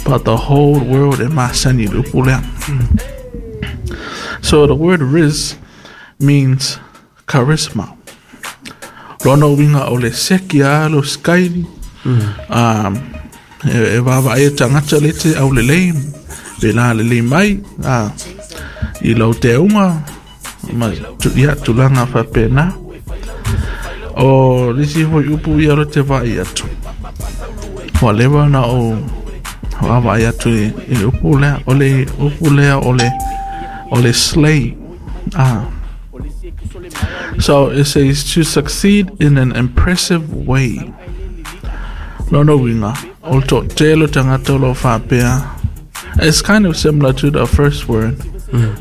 But the whole world e masani i le upu lea. So the word rizz means charisma. Lona uiga o le seki a lo skaili. E vaavaai e tagata le te aulelei pe la lelei mai i lau teuga ma ia tulaga faapena. O le isi foi upu ia o le te vaai atu. Ua leva ona ou vaavaai atu i le upu lea. O le upu lea o le slay. So it says to succeed in an impressive way. Lona uiga, o le toatele o tagata o lo o faapea. It's kind of similar to the first word.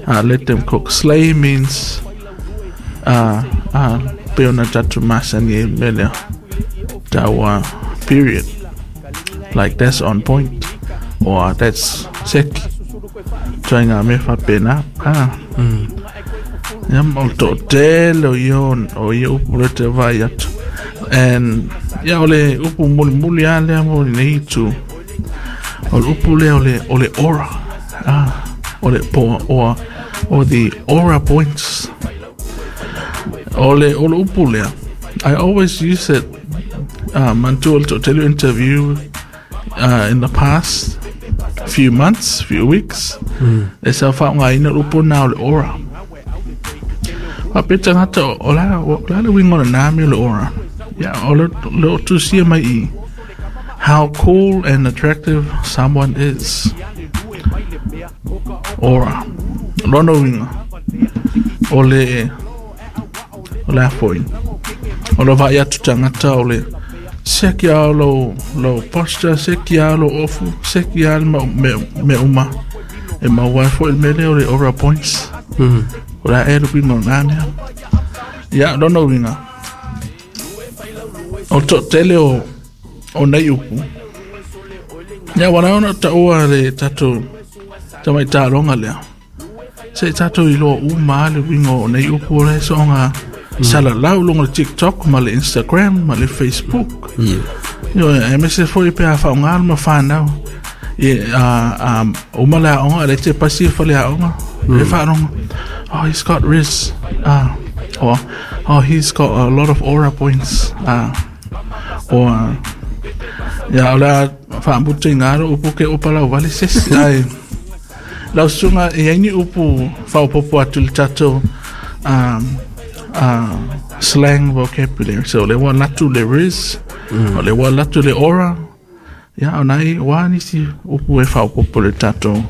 Let them cook. Slay means pe ona tatou masani ai le mea lea. Taua period. Like that's on point. Or that's seki. Ituaiga mea faapena. Ia ma o le toatele o ia o ia upu lea te vaai atu. And ia o le upu mulimuli lava lea mo lenei itu. O le upu lea o le aura. O le po or the aura points. O le upu lea. I always use it manatua o le toatele o interview in the past few months, few weeks. E sa faaaogaina le upu lena o le aura. Faapea tagata o le a le uiga o lena mea o le aura. Ia, o le o tusia mai i how cool and attractive someone is. Aura. Lona uiga, o le o le a foi. O le vaai atu tagata o le seki lava o lou posture, seki lava lou ofu, seki lava le mea uma. E maua ai foi le mea lea o le aura points. O le a ea le uiga o lena mea. Ia, lona uiga, o le toatele o nei upu, ia ua ala ona taua le tatou tamaitaloga lea. Se i tatou iloa uma lava le uiga o nei upu o la e soonga salalau i luga o le TikTok ma le Instagram ma le Facebook. Ioe, aemaise foi pe a faaaoga le mafanau. I, a, a, uma le aoga, le te pasi e fale aoga, e faalogo, oh, he's got rizz, or, oh, he's got a lot of aura points, or, ia, o le a faamutaina lou upu ke opa lau vale se isi, ae, lau susuga, e i ai ni upu faaopoopo atu i le tatou slang vocabulary. So, o lea ua alu atu le rizz, o lea ua alu atu le aura, ia, o nai, o a nisi upu e faaopoopo i le tatou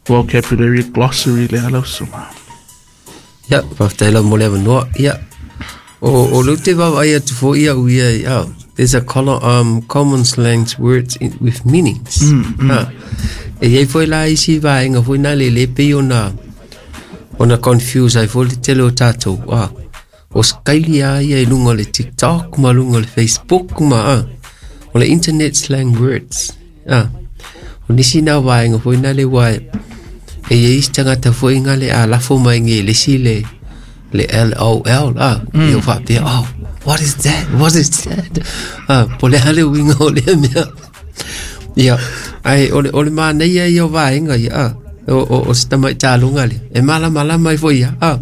vocabulary glossary lea lau susuga? Ia, faafetai lava mo le avanoa. Ia, o lea ou te vaavaai atu foi au ia i, oh, there's a common slangs words with meanings. Ah, e i ai foi la isi vaega foi na le le pei ona confuse ai foi le tele o tatou. Ah, o skaili a ia i luga o le TikTok ma luga o le Facebook ma o le internet slang words. Ah, o nisi na vaega foi na le ua e i ai isi tagata foi nga le a lafo mai Engelesi le LOL ah, e o faapea, oh, what is that? What is that? Ah, po o le a le uiga o lea mea. Ia, ae o le manaia ia o vaega ia, ah, o se tamaitaloga lea, e malamalama ai foi ia, ah.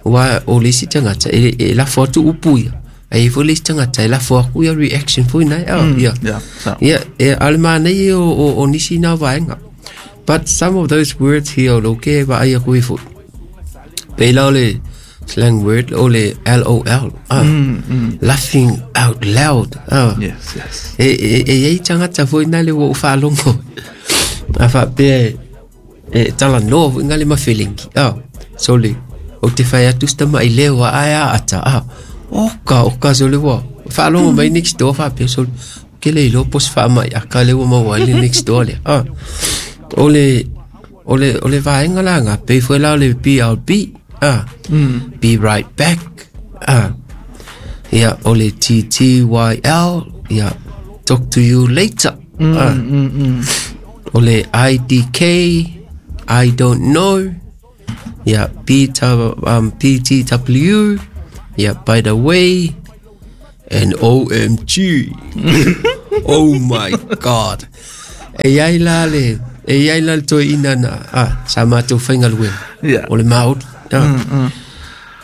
Aua o le isi tagata e lafo atu upu ia, ae i ai foi le isi tagata e lafo atu ia reaction foi nai, ah, ia. Yeah, so. Ia, e, a o le manaia ia o nisi na vaega. But some of those words here o lo ke vaai aku i foi. Pei la o le slang word o le LOL. Ah, Laughing out loud. Ah. Yes. E i ai tagata foi na le ua ou faalogo. A faapea e talanoa foi nga le mafelengi. Ah, so le, ou te fai atu si tama'i leo a ae a ata. Ah, oka, oka so le ua. Faalogo mai next door faapea so le, ke le iloa po o se faamai aka lea ua maua ai le next door lea. Ah, o le vaega la nga, pei foi la o le BRB. Ah, be right back. Ah, ia, o le TTYL. Ia, talk to you later. Ah, o le IDK, I don't know. Ia, PTW. Ia, by the way. And OMG. Oh my God. E iai la le e iai la le toeaina na sa matou faigaluega o le maoli.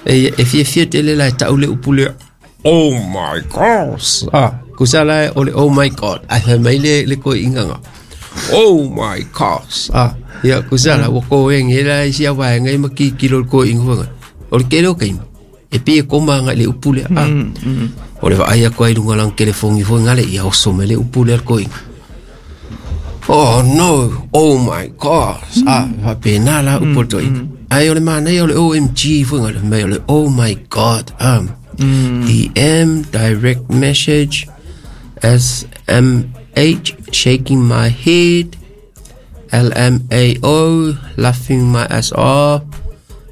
E fiafia tele la e ta'u le upu lea, oh my gosh. Kusa la o le oh my god, ae fai mai le toeaina ga, oh my gosh. Ia kusa la ua koege la i sia vaega ma kikilo le toeaina foi o le tele o taimi e pei e koma agai le upu lea. O le vaai atu ai luga lana telefoni foi gale ia oso mai le upu lea le toeaina. Oh no, oh my gosh. Faapena la upu o le toeaina. Ai o le manaia o le OMG foi gale mai o le oh my god. DM, direct message, SMH, shaking my head, LMAO, laughing my ass off,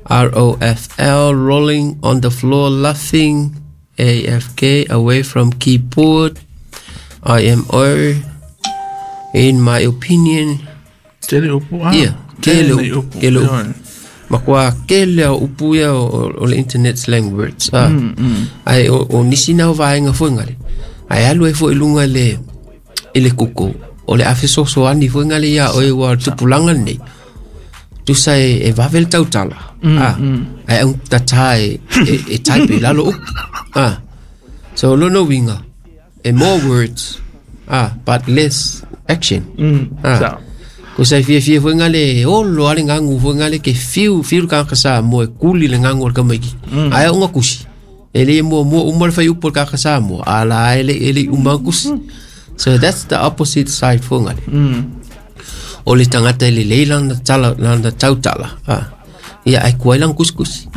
ROFL, rolling on the floor laughing, AFK, away from keyboard, IMO, in my opinion. Tele upu ia tele upu tele upu makua kele o upu ia o le internet slang words. Ai o nisi na o vaega foi ngale ai alu ai foi lunga le i le kuku o le afe sosoani foi ngale ia o e ua tupulaga lenei tusa e vave le tautala. Ai au tatā e type i lalo upu. So lona uiga e more words but less action. Ko sai fiafia foi ngale olo ale gagu foi ngale ke fiu fiu le tagata Samoa e kuli le gagu o le tamaiti. Ae aoga kusi e lē muamua uma le faiupu o le tagata Samoa a la e le uma kusi. So that's the opposite side foi ngale. O le tagata e lelei lana tala lana tautala ia ae kuai lana kusikusi.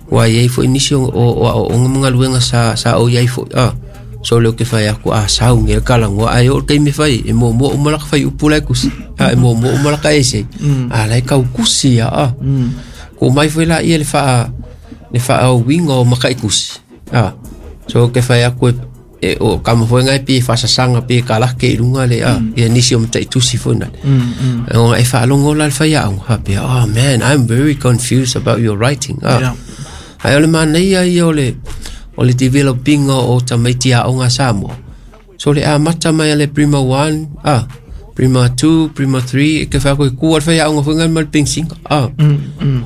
Ua iai foi nisi o aoaoga ma galuega sa ou iai foi. So le o ke fai aku a sau nge kalagoa ae oo le taimi fai e muamua uma laka faiupu lae kusi. E muamua uma laka ese a lae kaukusi ia. Ko mai foi laia le faa le faaauiga o maka'i kusi. So ke fai aku e o kama foi ngai pi faasasaga pe kalake i luga le ia nisi o mata'itusi foi nale. Ona e faalogo la le faiaoga faapea, oh man, I'm very confused about your writing. Ae o le manaia ia o le developinga o tamaiti aoga Samoa. So le amata mai a le Prima 1, Prima 2, Prima 3, e ke whako e kua le whai aonga whangai ma le pensinga.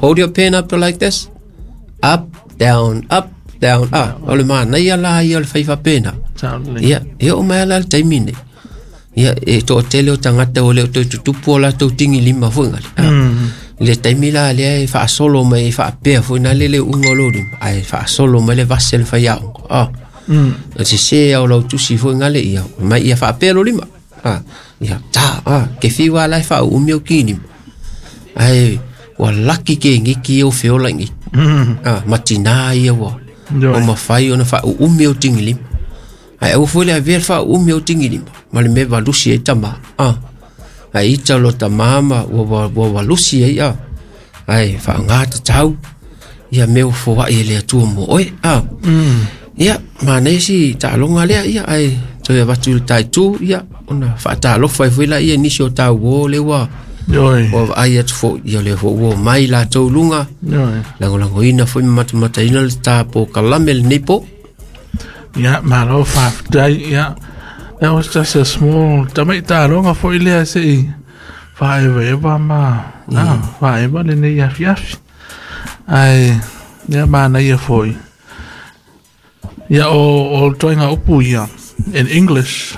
Hold your pen up like this. Up, down, up, down. O le manaia la ia o le whaifa pena. Ia, e o mai ala le taimi nei. Ia, e to'o tele o tangata o le o toi tutupu o latou tingi lima foi ngale. Le taimi la lea e faasolo mai e faapea foi na le le uga o lou lima ae faasolo mai le vase le faiaoga. O sesē ao lau tusi foi gale ia mai ia faapea lo lima. Ia ta ke fiu a la e faauumi o kinima ae ua laki ke giki o feola i matinā ia ua o mafai ona faauumi o tingi lima ae aua foi le avea le faauumi o tingi lima ma le mea valusi ai tamā. Ai ita lo tamama ua walusi ai ai faagā tatau ia mea ua foa'i e le Atua mo oe. Ia manaia si taaloga lea ia ae toe avatu i le taitū ia ona faatalofa ai foi laia nisi o tauō le ua ua vaai atu fo'i ia lea foi ua omai latou luga lagolagoina foi ma matamataina le tāpō kalame lenei po. Ia malo faafetai ia. That was just a small tama'i taaloga foi lea se'i faaevaeva ma faaeva lenei afiafi ae ia manaia foi ia o toaiga upu ia. In English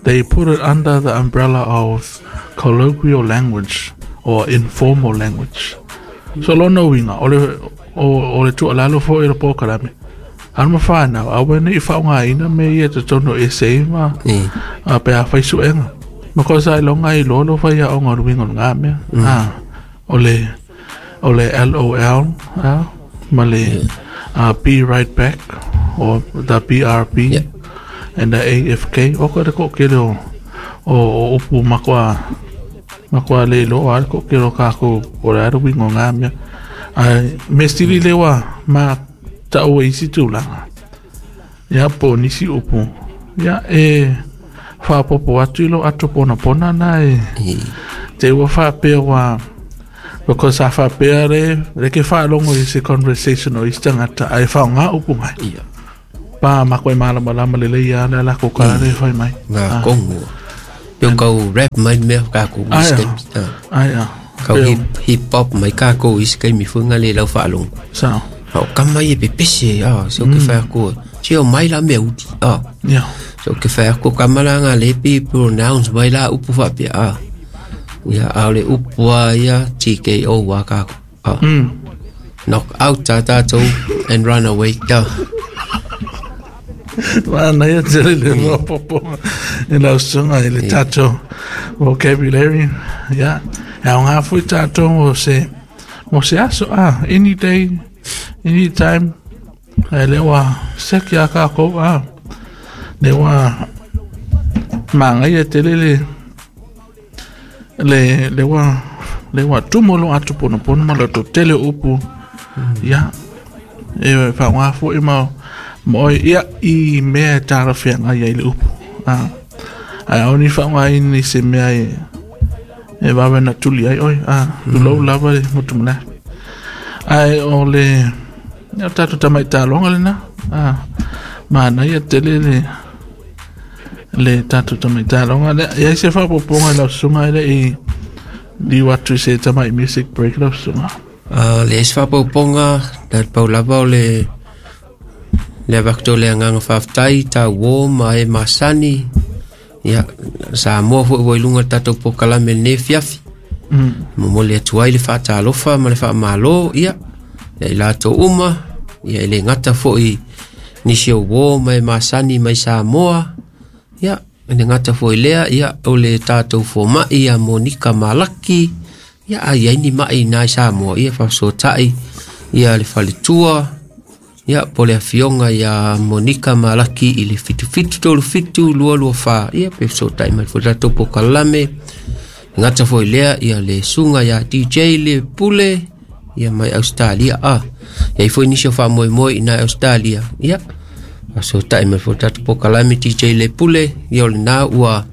they put it under the umbrella of colloquial language or informal language. So lona uiga o le tuualalo foi le polokalame alo ma fanau aua ne'i faaogāina me ia totonu o essay ma pe a fai suega ma kosa ai loga ai loa lo fai aoga o le uiga o lagā mea. O le LOL ma le be right back or the BRB and the AFK o ko le ko'okele o upu makoa le iloa a le ko'okele o kākou o le a le uiga o gā mea ae me sili le ua ma ta'u e isi tulaga ia po o nisi upu ia e faapopo atu i lou ato ponapona na e te ua faapea ua because a faapea le ke faalogo i se conversation o isi tagata ae faaaogā upu mai pa mako e malamalama lelei ia le ala ko ka le fai mai ngā kongo. Pe kau rap mai mea kākou i se taimi. Ai a. Kau hip hop mai kākou i se taimi foi nga le lau faalogo. Sao. A o kama ia e pepese, se o ke whai ako. Se o mai la mea uti, Yeah. Se o ke whai ako kama la ngā lepi pronounce mai la upu whapea, Ia, a o le upu a ia TKO wa kākou. Knock out tā tātou and run away. Mana ia tele le maopopo i lau susuga i le tatou vocabulary. Ia, e aoga foi tatou mo se mo se aso a any day, any time. Ae lea ua siaki a kākou a. Lea ua magaia tele le le le ua le ua tumu lo atu ponopono ma lo tele o upu. Ia, e faaaoga foi ma ma oe ia i mea e talafeagai ai le upu. Ae aua ne i faaaogaina i se mea e e vave ona tuli ai oe. Tulou lava le motu malae. Ae o le o tatou tamaitaloga lena. Manaia tele le le tatou tamaitaloga lea. E i ai se faaopoopoga i lau susuga e le i liu atu i se tamai music break lau susuga. Le isi faaopoopoga, na le pau lava o le le avatu o le agaga faafetai tauō ma e masani. Ia, Samoa foi ua i luga o le tatou polokalame i lenei afiafi. Momoli atu ai le faatalofa ma le faamālō, ia, ia i latou uma, ia e le gata foi nisi o uō ma e masani mai Samoa, ia, e le gata foi i lea, ia, o le tatou fomaʻi ia Monika Malaki, ia, a i ai ni maʻi iina i Samoa, ia, faafesootai, ia le faletua, ia, po o le afioga ia Monika Malaki i le 7737 224, ia, pe fesootai mai foi le tatou polokalame. E gata foi i lea, ia le susuga ia DJ le Pule, ia mai Ausetalia, e i ai foi nisi o faamoemoe iina i Ausetalia, ia, faafesootai mai foi le tatou polokalame DJ le Pule, ia o lena ua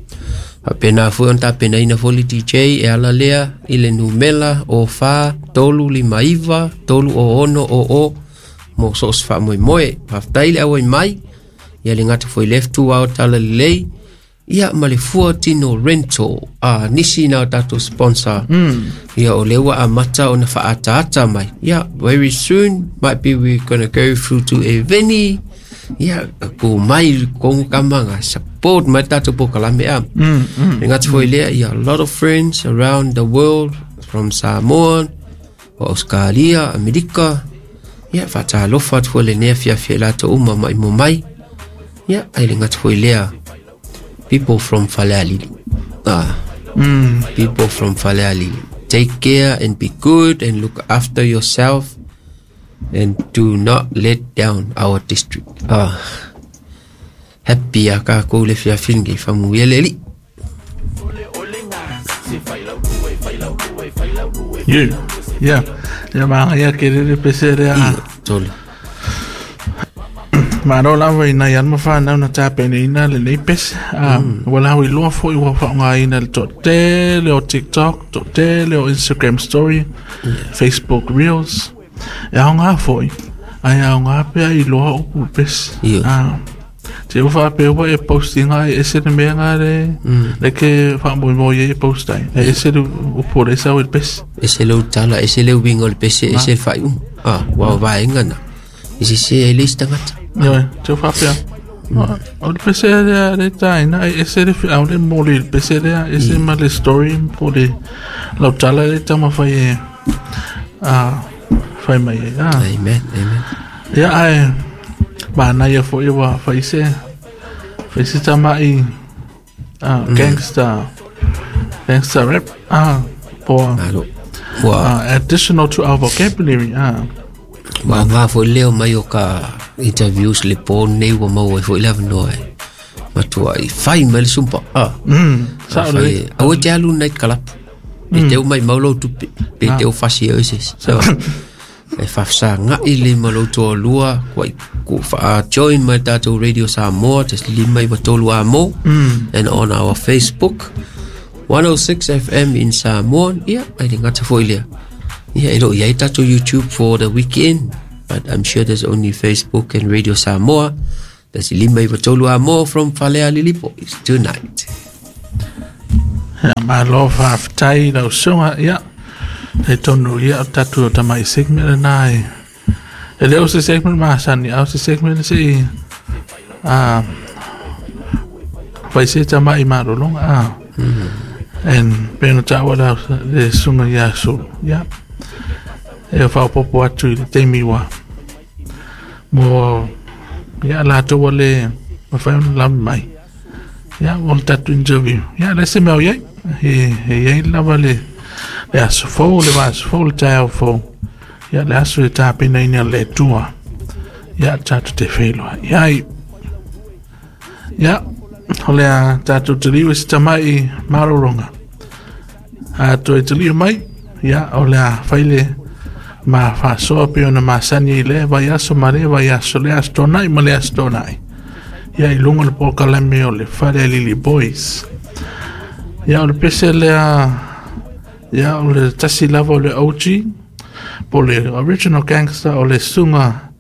faapena foi ona tapenaina foi le DJ e ala lea i le numera o 4 3 5 9 3 o 6 o o mo so o se faamoemoe. Faafetai le auai mai, ia le gata foi i lea fetuao talalelei, ia ma le fua tino rental a nisi na o tatou sponsor. Ia o lea ua amata ona faaataata mai. Ia, very soon might be we're gonna go through to Eveni. Ia, ku mai kongo kama nga support mai tatou polokalame a. Le gata foi i lea, ia, a lot of friends around the world from Samoa, o Australia, Amerika. Ia, faatalofa atu foi lenei afiafi i latou uma maimoa mai. Ia, ae le gata foi i lea, people from Falealili. People from Falealili. Take care and be good and look after yourself and do not let down our district. Happy a kākou le fiafi lenei, faamanuia le Alii. You. Yeah. Ia magaia tele le pese lea. Ia, tole. Malo lava i nai alo ma fanau na tapenaina lenei pese. Ua lauiloa foi ua faaaogaina le toatele o TikTok, toatele o Instagram story, Facebook Reels. E aoga foi, ae aoga pea iloa upu pese. Te ua faapea ua e post ina e ese le mea nga le, le ke faamoemoe ai e post ai. E ese le upu o le sau i le pese. Ese le utala, ese le uiga o le pese, ese le faaiuga. Ua o vaega na. E sese ai le isi tagata. Ioe, te ua faapea. O le pese lea le taina, e ese le feau le moli i le pese lea, ese ma le story po le lautala le taumafai e fai mai ai. Amen, amen. Ia, ae manaia foi ua fai se fai se tamaʻi gangster gangster rap po Malo. Ua, additional to our vocabulary. Ua aoga foi le leo mai o ka interviews le po nei ua maua ai foi le avanoa e matuai fai mai le sumpa. Sao lelei. Aua e te alu night club. Pe te o maimau lou tupe, pe te o fasi ai o se isi. E faafesagaʻi le ma lou toalua kuai ku faa join mai le tatou Radio Samoa 1.5 93 amo and on our Facebook 106 FM in Samoa. Ia, ai le gata foi lea. Ia, e leo i ai tatou YouTube for the weekend, but I'm sure there's only Facebook and Radio Samoa. 1.5 93 amo from Falealili Boys tonight. Ia, malo faafetai lau susuga. Ia, e tonu ia o tatou tamai segment lena e e le o se segment masani, a o se segment se i a fai se tamai malologa a. And pei ona taua lau le susuga ia Sulu. Ia, e faaopoopo atu i le taimi ua mo ia latou ua le mafai ona lava mai. Ia, o le tatou interview. Ia, le se mea o i ai. E i ai lava le le aso fou, le vaiaso fou, le taeao fou. Ia, le aso e tapenaina e le Atua. Ia, tatou te feiloai ai. Ia, o le a tatou taliu i se tamai malologa. A toe taliu mai, ia, o le a fai le ma faasoa pei ona masani i lea vaiaso ma lea vaiaso, le Aso Toonai ma le Aso Toonai. Ia, i luga o le polokalame o le Falealili Boys. Ia, o le pese lea, ia, o le tasi lava o le OG, po o le Original Gangster o le susuga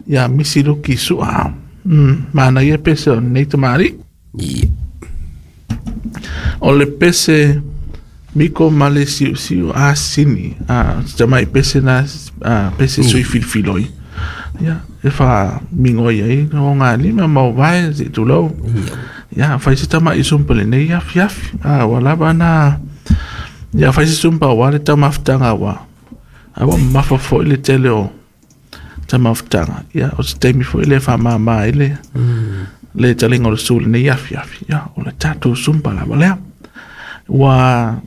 ia Misi Luki Sua. Manaia pese o lenei tamalii. Ia. O le pese miko ma le siusiu asini. A, tamai pese na, a, pese sui filifiloi. Ia, e faamigoi ai o ngā lima ma o vae se tulou. Ia, fai se tamai sumpa lenei afiafi. A, ua lava na, ia fai se sumpa aua le taumafataga ua. A ua mamafa foi le tele o taumafataga. Ia, o se taimi foi lea e faamama ai le, le taliga o le su i lenei afiafi. Ia, o le tatou sumpa lava lea. Ua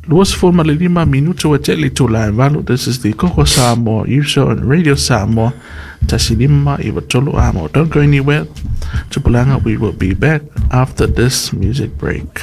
25 minuta ua tea i le itula e 8. This is the Koko Samoa Youth Show on Radio Samoa. 159 Amo. Don't go anywhere. Tupulaga, we will be back after this music break.